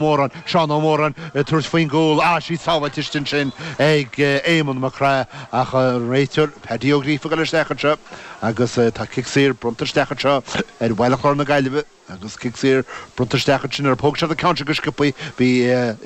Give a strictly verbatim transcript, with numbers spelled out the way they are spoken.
Móran Seán Ó Móran tabhairt faoin gcúl á sí sábháilte ansin ag Éamonn Mac Craith ach réiteoir Paddy Ó Gríofa go isteach anseo agus tá cic saor bronnta isteach anseo ar Bhaile Chláir na Gaillimhe agus cic saor bronnta isteach ansin ar póg se ceann go sciobtha bhí